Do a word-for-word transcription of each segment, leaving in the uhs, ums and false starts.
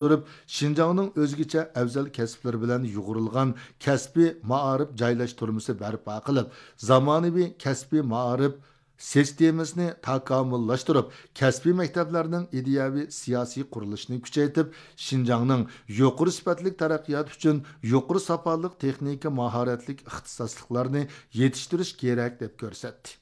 تۇرۇپ، شىنجاڭنىڭ ئۆزگىچە ئەۋزەل كەسىپلىرى بىلەن يۇغۇرۇلغان كەسپىي مائارىپ جايلاشتۇرمىسى بەرپا قىلىپ، زامانىۋى كەسپىي مائارىپ سىستېمىسىنى تاكامۇللاشتۇرۇپ، كەسپىي مەكتەپلەرنىڭ ئىدىيەۋى سىياسىي قۇرۇلۇشىنى كۈچەيتىپ، شىنجاڭنىڭ يۇقىرى سۈپەتلىك تەرەققىياتى ئۈچۈن يۇقىرى ساپالىق تېخنىكا ماھارەتلىك ئىختىساسلىقلارنى يېتىشتۈرۈش كېرەك، دەپ كۆرسەتتى.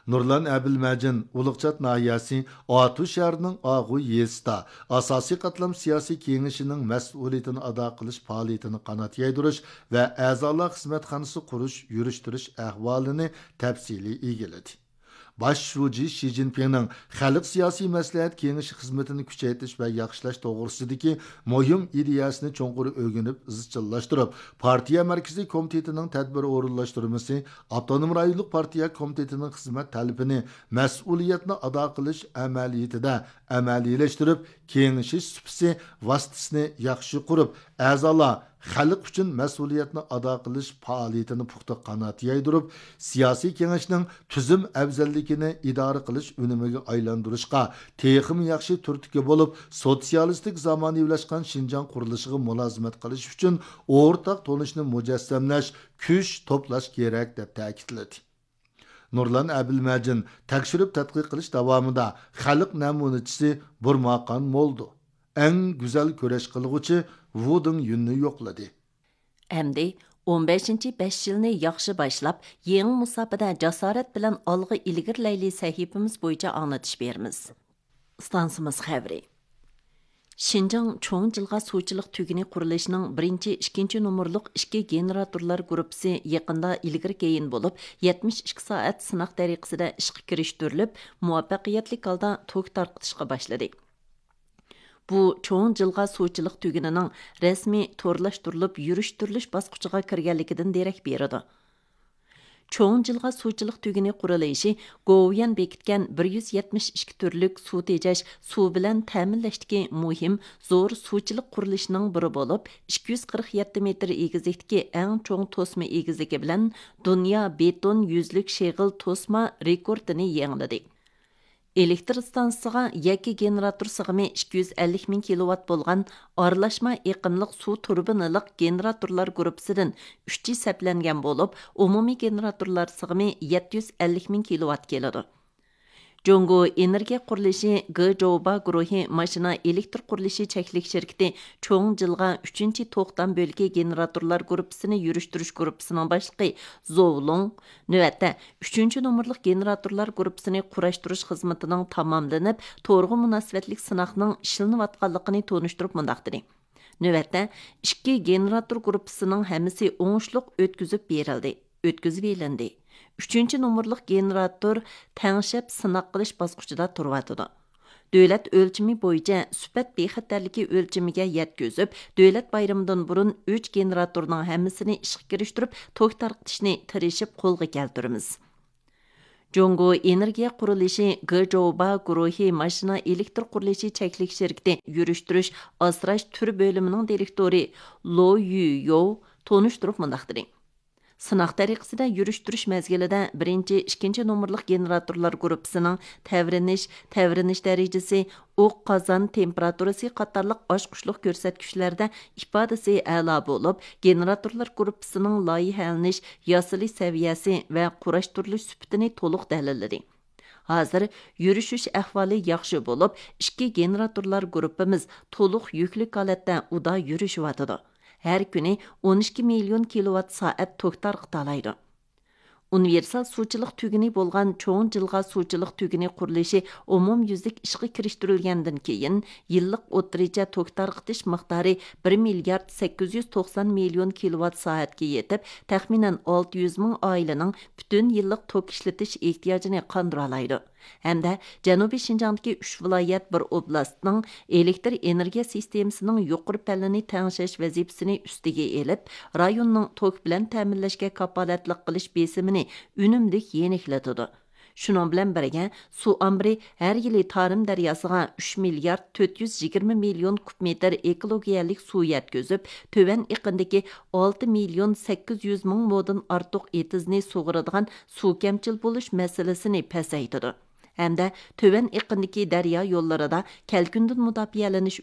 نۇرلان ئەبىلمەجىن ئۇلۇغچات ناھىيەسى ئاتۇ شەھىرىنىڭ ئاغۇ يېزىسىدا ئاساسىي قاتلام سىياسىي كېڭىشىنىڭ مەسئۇلىيىتىنى ئادا قىلىش پائالىيىتىنى قانات يايدۇرۇش ۋە ئەزالار خىزمەتخانىسى قۇرۇش، يۈرۈشتۈرۈش ئەھۋالىنى تەپسىلىي ئىگىلىدى. باش شۇجى شى جىنپىڭنىڭ خەلق سىياسىي مەسلىھەت كېڭىشى خىزمىتىنى كۈچەيتىش ۋە ياخشىلاش توغرىسىدىكى مۇھىم ئىدىيەسىنى چوڭقۇر ئۆگىنىپ، ئىزچىللاشتۇرۇپ، پارتىيە مەركىزىي كومىتېتىنىڭ تەدبىر ئورۇنلاشتۇرمىسى، ئاپتونوم رايونلۇق پارتىيە كومىتېتىنىڭ خىزمەت تەلىپىنى مەسئۇلىيەتنى ئادا قىلىش ئەمەلىيىتىدە ئەمەلىيلەشتۈرۈپ، كېڭىشىش سۇپىسى ۋاسىتىسىنى ياخشى قۇرۇپ، ئەزالار خەلق ئۈچۈن مەسئۇلىيەتنى ئادا قىلىش پائالىيىتىنى پۇختا قانات يايدۇرۇپ، سىياسىي كېڭەشنىڭ تۈزۈم ئەۋزەللىكىنى ئىدارە قىلىش ئۈنۈمىگە ئايلاندۇرۇشقا تېخىمۇ ياخشى تۈرتكە بولۇپ، سوتسىيالىستىك زامانىۋىلاشقان شىنجاڭ قۇرۇلۇشىغا مۇلازىمەت قىلىش ئۈچۈن ئورتاق تونۇشنى مۇجەسسەملەش، كۈچ توپلاش كېرەك، دەپ تەكىتلىدى. نۇرلان ئەبىلمەجىن تەكشۈرۈپ تەتقىق قىلىش داۋامىدا خەلق نەمۇنىچىسى بۇرماقان مولدو، ئەڭ گۈزەل كۈرەش قىلغۇچى ۋۇ دېڭيۈننى يوقلىدى. ئەمدى ئون بەشىنچى بەش يىلنى ياخشى باشلاپ، يېڭى مۇساپىدە جاسارەت بىلەن ئالغا ئىلگىرىلەيلى سەھىپىمىز بويىچە ئاڭلىتىش بېرىمىز. ئىستانسىمىز خەۋىرى. شىنجاڭ چوڭ جىلغا سۇچىلىق تۈگۈنى قۇرۇلۇشىنىڭ بىرىنچى، ئىككىنچى نومۇرلۇق ئىككى گېنېراتورلار گۇرۇپپىسى يېقىندا ئىلگىرى كېيىن بولۇپ، يەتمىش ئىككى سائەت سىناق تەرىقىسىدە ئىشقا كىرىشتۈرۈلۈپ، مۇۋەپپەقىيەتلىك ھالدا توك تارقىتىشقا باشلىدى. بۇ چوڭ جىلغا سۇچىلىق تۈگۈنىنىڭ رەسمىي تورلاشتۇرۇلۇپ يۈرۈشتۈرۈلۈش باسقۇچىغا كىرگەنلىكىدىن دېرەك بېرىدۇ. چوڭ جىلغا سۇچىلىق تۈگۈنى قۇرۇلۇشى گوۋۇيۈەن بېكىتكەن بىر يۈز يەتمىش ئىككى تۈرلۈك سۇ تېجەش، سۇ بىلەن تەمىنلەشتىكى مۇھىم زور سۇچىلىق قۇرۇلۇشىنىڭ بىرى بولۇپ، ئىككى يۈز قىرىق يەتتە مېتىر ئېگىزلىكتىكى ئەڭ چوڭ توسما ئېگىزلىكى بىلەن دۇنيا بېتون يۈزلۈك شېغىل توسما رېكورتىنى يېڭىلىدى. ئېلېكتر ئىستانسىسىغا يەككە گېنېراتور سىغىمى ئىككى يۈز ئەللىك مىڭ كىلوۋات بولغان ئارىلاشما ئېقىملىق سۇ تۇربىنىلىق گېنېراتورلار گۇرۇپپىسىدىن ئۈچى سەپلەنگەن بولۇپ، ئومۇمىي گېنېراتورلار سىغىمى يەتتە يۈز ئەللىك مىڭ كىلوۋات كېلىدۇ. جۇڭگو ئېنېرگىيە قۇرۇلۇشى گېجوۋا گۇرۇھى ماشىنا ئېلېكتر قۇرۇلۇشى چەكلىك شىركىتى چوڭ جىلغا ئۈچىنچى توختام بۆلىكى گېنېراتورلار گۇرۇپپىسىنى يۈرۈشتۈرۈش گۇرۇپپىسىنىڭ باشلىقى زوۋ لۇڭ نۆۋەتتە ئۈچىنچى نومۇرلۇق گېنېراتورلار گۇرۇپپىسىنى قۇراشتۇرۇش خىزمىتىنىڭ تاماملىنىپ، تورغا مۇناسىۋەتلىك سىناقنىڭ ئىشلىنىۋاتقانلىقىنى تونۇشتۇرۇپ مۇنداق دېدى: نۆۋەتتە ئىككى گېنېراتور گۇرۇپپىسىنىڭ ھەممىسى ئوڭۇشلۇق ئۆتكۈزۈپ بېرىلدى، ئۆتكۈزۈۋېلىندى. ئۈچىنچى نومۇرلۇق گېنېراتور تەڭشەپ سىناق قىلىش باسقۇچىدا تۇرۇۋاتىدۇ. دۆلەت ئۆلچىمى بويىچە سۈپەت بىخەتەرلىكى ئۆلچىمىگە يەتكۈزۈپ، دۆلەت بايرىمىدىن بۇرۇن ئۈچ گېنېراتورنىڭ ھەممىسىنى ئىشقا كىرىشتۈرۈپ، توك تارقىتىشنى تىرىشىپ قولغا كەلتۈرىمىز. جۇڭگو ئېنېرگىيە قۇرۇلۇشى گېجوۋا گۇرۇھى ماشىنا ئېلېكتر قۇرۇلۇشى چەكلىك شىركىتى يۈرۈشتۈرۈش ئاسراش تۈر بۆلۈمىنىڭ دىرېكتورى لو يۈيوۋ تونۇشتۇرۇپ مۇنداق دېدى: سىناق تەرىقىسىدە يۈرۈشتۈرۈش مەزگىلىدە بىرىنچى، ئىككىنچى نومۇرلۇق گېنېراتورلار گۇرۇپپىسىنىڭ تەۋرىنىش، تەۋرىنىش دەرىجىسى، ئوق قازان تېمپېراتۇرىسى قاتارلىق ئاچقۇچلۇق كۆرسەتكۈچلەردە ئىپادىسى ئەلا بولۇپ، گېنېراتورلار گۇرۇپپىسىنىڭ لايىھەلىنىش، ياسىلىش سەۋىيەسى ۋە قۇراشتۇرۇلۇش سۈپىتىنى تولۇق دەلىللىدى. ھازىر يۈرۈشۈش ئەھۋالى ياخشى بولۇپ، ئىككى گېنېراتورلار گۇرۇپپىمىز تولۇق يۈكلۈك ھالەتتە ئۇدا يۈرۈشۈۋاتىدۇ. ھەر كۈنى ئون ئىككى مىليون كىلوۋات سائەت توك تارقىتالايدۇ. ئۇنىۋېرسال سۇچىلىق تۈگۈنى بولغان چوڭ جىلغا سۇچىلىق تۈگۈنى قۇرۇلۇشى ئومۇميۈزلۈك ئىشقا كىرىشتۈرۈلگەندىن كېيىن، يىللىق ئوتتۇرىچە توك تارقىتىش مىقدارى بىر مىليارد سەككىز يۈز توقسان مىليون كىلوۋات سائەتكە يېتىپ، تەخمىنەن ئالتە يۈز مىڭ ئائىلىنىڭ پۈتۈن يىللىق توك ئىشلىتىش ئېھتىياجىنى قاندۇرالايدۇ. ھەمدە جەنۇبىي شىنجاڭدىكى ئۈچ ۋىلايەت، بىر ئوبلاستنىڭ ئېلېكتر ئېنېرگىيە سىستېمىسىنىڭ يۇقىرى پەللىنى تەڭشەش ۋەزىپىسىنى ئۈستىگە ئېلىپ، رايوننىڭ توك بىلەن تەمىنلەشكە كاپالەتلىك قىلىش بېسىمىنى ئۈنۈملۈك يېنىكلىتىدۇ. شۇنىڭ بىلەن بىرگە، سۇ ئامبىرى ھەر يىلى تارىم دەرياسىغا ئۈچ مىليارد تۆت يۈز يىگىرمە مىليون كۇب مېتىر ئېكولوگىيەلىك سۇ يەتكۈزۈپ، تۆۋەن ئېقىندىكى ئالتە مىليون سەككىز يۈز مىڭ مودىن ئارتۇق ئېتىزنى سۇغىرىدىغان سۇ كەمچىل بولۇش مەسىلىسىنى پەسەيتىدۇ. ھەمدە تۆۋەن ئېقىندىكى دەريا يوللىرىدا كەلكۈندىن مۇداپىئەلىنىش